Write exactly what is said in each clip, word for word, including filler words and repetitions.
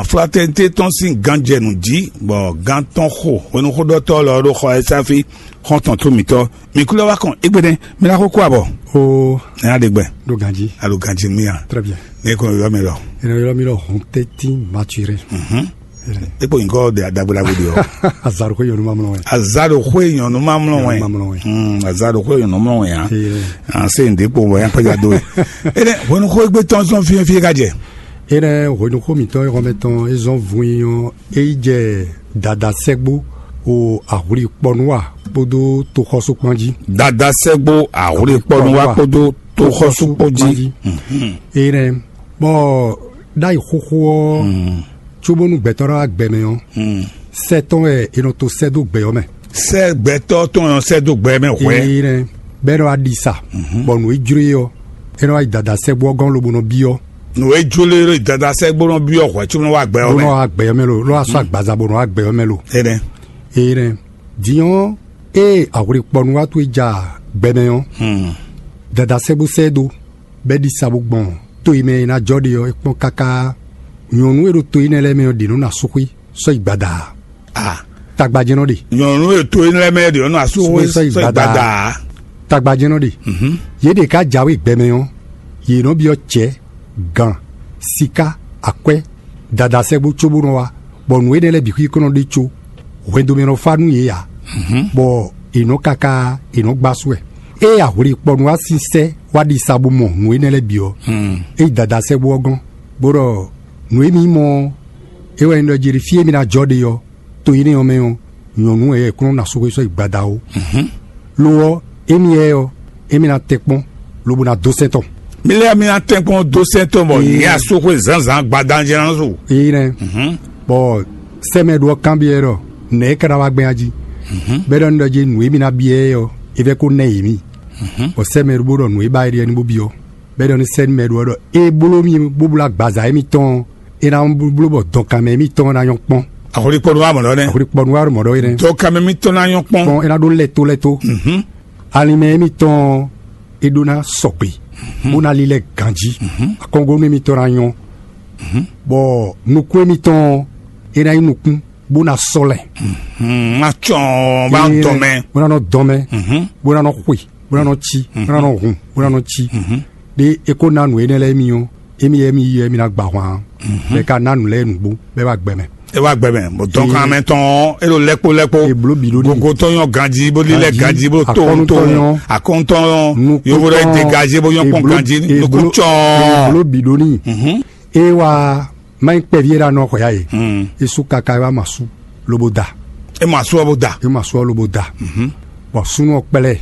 Fraternité tɔn sín ganjɛnu jí, bɔ gán tɔn xo hwenuxóɖɔtɔ́ lɔ ɖó xɔ ɛ sáfí xɔ́ntɔn tó mǐtɔn. Mǐ kú lɛ́ wá kɔn égbé nɛ́, mi ná xó kú abɔ. O Nya ɖe gbɛ. Ɖo ganjí. Alo ganjí mía. Très bien. Ne ko yɔ mi lɔ. Ena yɔrɔ mi lɔ hɔn tɛtin mature. Mhm. E kpo nyikɔ de adagbe la gbe de ɔ. Azaro ko yɔnu ma mlɔ wɛ. Azaro ko yɔnu ma mlɔ wɛ. Yɔnu ma mlɔ wɛ. Hmm, azaro ko yɔnu ma mlɔ wɛ ya. Ee. An se nde kpo wɛ ya pɛja do. Ene hwenu ko egbe tɔn sɔn fiye fiye ka jɛ. Ene hwenu ko mi tɔn yɔrɔ mɛ tɔn ezɔn vun yi ɔ eyi jɛ dada sɛgbo o ahwli kpɔnuwa kpódó toxɔsukpɔn jí. Dada sɛgbo ahwli kpɔnuwa kpódó toxɔsukpɔn jí. Mhm. Ene bɔ ɖ'ayǐ xóxó ɔ, cóbónú gbɛtɔ́ ná wá gbɛ mɛ ɔ́, sɛ́ tɔn wɛ è nɔ to sɛ́ dó gbɛ ɔ́ mɛ. Sɛ́ gbɛtɔ́ tɔn ɔ́ sɛ́ dó gbɛ mɛ hwɛ̌. Ee nɛ, bɔ é nɔ wá ɖi sa, bɔ nǔ e jló e ɔ́, é nɔ wá yi dada sɛ́gbó ɔ́ gɔ́n lobo nɔ byɔ́. Nǔ e jló e ɖo dada sɛ́gbó nɔ byɔ́ hwɛ̌ cóbó nɔ wá gbɛ ɔ́ Bó mɛ. Nɔ wá gbɛ ɔ́ mɛ lo, lɔ wá sɔ́ agbaza bó nɔ wá gbɛ ɔ́ mɛ lo. Énɛ́. Ee nɛ, din ɔ́, ée ahwli kpɔnu wá towe ja gbɛ mɛ ɔ́, dada sɛ́gbó sɛ́ ɛ dó, bɔ é ɖi sa bó gbɔn to e mɛ è nǎ jɔ ɖe ɔ́, é kpɔ́n káká. Nyɔ̌nu e ɖo to énɛ́ lɛ́ɛ mɛ ɔ́ ɖě nɔ ná súxwé sɔ́ yi gbada ǎ. A Tagba jɛ́n nɔ ɖe. Nyɔ̌nu e to énɛ́ lɛ́ɛ mɛ ɖě nɔ asú Súxwé sɔ́ yi gbada. Tagba jɛ́n nɔ ɖe. Yě ɖě ká jǎwe gbɛ mɛ ɔ́, yě nɔ byɔ́ cɛ̌, gǎn, siká, akwɛ́, dada sɛ́gbó cóbó nɔ wá, bɔ nǔ énɛ́ lɛ́ɛ bǐ xwíkɔ́ nɔ ɖe có hwɛndo mɛ nɔ fá nú yě ǎ, bɔ è nɔ káká è nɔ gbá sú wɛ. Ée ahwli kpɔnu wá sín sɛ́ wá ɖi sa bó mɔ nǔ énɛ́ lɛ́ɛ bǐ ɔ́, é yi dada sɛ́gbó ɔ́ gɔ́n, bó ɖɔ nǔ e mǐ mɔ ɔ́, é wɛ nyí ɖɔ jí fí e mì ná jɔ ɖe ɔ́, to énɛ́ ɔ́ mɛ ɔ́, nyɔ̌nu wɛ é kún nɔ ná sú xwé sɔ́ yi gbada ó. Lo ɔ́, émí lɛ́ɛ ɔ́, émí ná tɛ́nkpɔ́n, lobo ná dó sɛ́n tɔn. Mi lɛ́ mi ná tɛ́nkpɔ́n dó sɛ́n tɔn bɔ nyɛ asúxwé zǎnzǎn gbadá jɛ ná su. Éyi nɛ́, bɔ sɛ́mɛ ɖó ɔ́ kanbyɔ́ ɛ ɖɔ nɛ̌ é ka ná wá gbɛn a jí? Bɔ é ɖɔ nú ɖɔ jí nǔ e mì ná byɔ́ ɛ ɔ́, é vɛ́ kó ná yě mì. Bɔ sɛ́mɛ ɖó bó ɖɔ nǔ e ba é ɖe ɔ́ ní bó byɔ́. Bɔ é ɖɔ nú sɛ́ nú mɛ ɖó ɔ́ ɖɔ é bló mì bó bló agbaza émítɔn ɔ́, é ná bló bɔ dɔnkanmɛ émítɔn ɔ́ ná nyɔ́ kpɔ́n. Axɔlikpɔnú wa mɔ̌ ɖɔ nɛ́. Axɔlikpɔnú wa ɖo mɔ̌ ɖɔ é nɛ́. Dɔnkanmɛ mítɔn ná nyɔ́ kpɔ́n. Kpɔn é ná ɖó lɛ́ tó lɛ́ tó. Alinmɛ émítɔn ɔ́, é ɖó ná sɔgbe, bó ná lílɛ́ ganjí. Akɔ́ngónú émítɔn ná nyɔ́, bɔ nukún émítɔn ɔ́, é ná nyí nukún, bó ná sɔ́ lɛ́. Má cɔn bá dɔn mɛ. Bó ná nɔ dɔn mɛ, bó ná nɔ xwe, bó ná nɔ cí, bó ná nɔ hun, bó ná nɔ cí. Ɖé é kó ná nǔ énɛ́ lɛ́ɛ émí ɔ́, émí lɛ́ɛ émí yi ɔ́, émí ná gba ahwan, bɔ é ka ná nǔ lɛ́ɛ nǔgbó, bɔ é wá gbɛ mɛ. É wá gbɛ mɛ, bɔ dɔnkan mɛ tɔn ɔ́, é ɖo lɛ́kpó lɛ́kpó. È blǒ bǐ ɖó n'i. Gogo tɔn nyɔ́ ganjí, bó lílɛ́ ganjí, bó tó Akɔ́nú tó tɔn nyɔ́. Akɔ́ntɔn Nukún yovó ɖɔ tɔn, gagé bó nyɔ́ kpɔ́n èbló-, ganjí, èbló-, nukún cɔn. Èbló bǐ ɖó n'i. Ée wá má nyí kpɛví e ɖo anɔ xɔ ya e, é sú káká é wá ma sú, lobo da. É ma sú ɔ́ bó da. É ma sú ɔ́ lobo da. Bɔ súnnu ɔ́ kplá ɛ,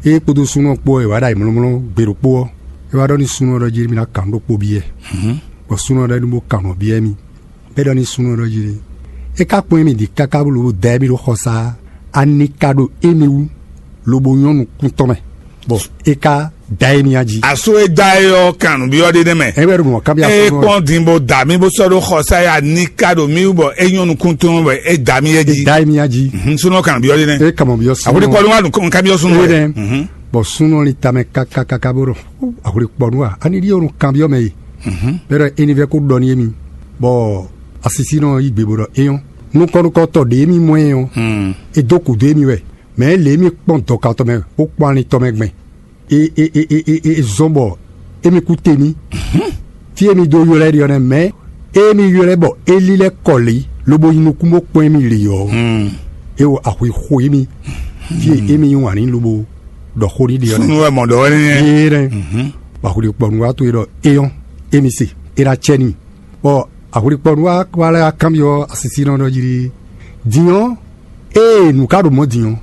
é kpódó súnnu ɔ́ kpó ɔ́, è wǎ ɖo ayǐmlɔ́mlɔ́ gbe ɖokpó ɔ́, é wá ɖɔ nú súnnu ɔ́ ɖɔ jí mì ná kan nǔ ɖokpó byɔ́ ɛ. Bɔ súnnu ɔ́ ɖɔ nú bó kan nǔ byɔ́ mì. Bɔ é ɖɔ nú súnnu ɔ́ ɖɔ jí, é ka kpɔ́n mì ɖi káká bó lobo da émí ɖó xɔsá, a ní ka ɖo émí wú, lobo nyɔ́ nukún tɔn mɛ, bɔ é ka da émí a jí. Aso e da e ɔ́ kan nǔbyɔ́ ɖé nɛ́ mɛ. É wɛ ɖo mɔ̌ kanbyɔ́ Eye súnnu ɔ́. Kpɔ́n din bó da mì bó sɔ́ ɖó xɔsá ya ní ká ɖo mì wú bɔ é nyɔ́ nukún tɔn bɔ é da mì é jí. Da émí a jí. Mhm, súnú kan nǔbyɔ́ ɖé nɛ́. É ka mɔ byɔ́ súnnu Àwòrán ɔ́. Kpɔ́n wá nukún kanbyɔ́ súnnu Ée rɛ. Nɛ. Mhm. Bɔ súnnu ɔ́ lín tamɛ kákákáká bó ɖɔ ahwli kpɔnu a, ani ɖíe wonu kanbyɔ́ mɛ e? Bɛ́ ɖɔ é ní vɛ́ kó ɖɔ n'i émí, bɔ asisínɔ ɔ́ yí gbe bó ɖɔ é nyɔ́. Nukɔn nukɔntɔn ɖě émí mɔ ɛ ɔ́, é dó kǔdó émí wɛ. Mɛ̌ lě émí kpɔ́n dɔ̌katɔ́ mɛ bó kpɔ́n alin tɔn mɛ gbɛn? E e e e e e zɔ́n bɔ émí kú te ní. Fí émí dó ylɔ́ ɛ ɖe ɔ́ nɛ́, mɛ̌ émí ylɔ́ ɛ bɔ é lílɛ́ kɔ lě lobo nyi nukún bó kpɔ́n émí lě ɔ́, é wo axwe xo émí. Fí e émí yí wǎn ní lobo ɖɔ xó ní ɖe ɔ́ nɛ́. Súnnu wɛ mɔ ɖɔ wɛ nɛ́. Yé nɛ́. Bɔ axwlíkpɔ́nú wá to e ɖɔ é nyɔ́, émí se, é ná cɛ n'i. Bɔ axwlíkpɔ́nú wá wá lɛ́ wá kanbyɔ́ asisínɔ ɖɔ jí ɖi, din ɔ́, ée nǔ ka ɖo mɔ̌ din ɔ́,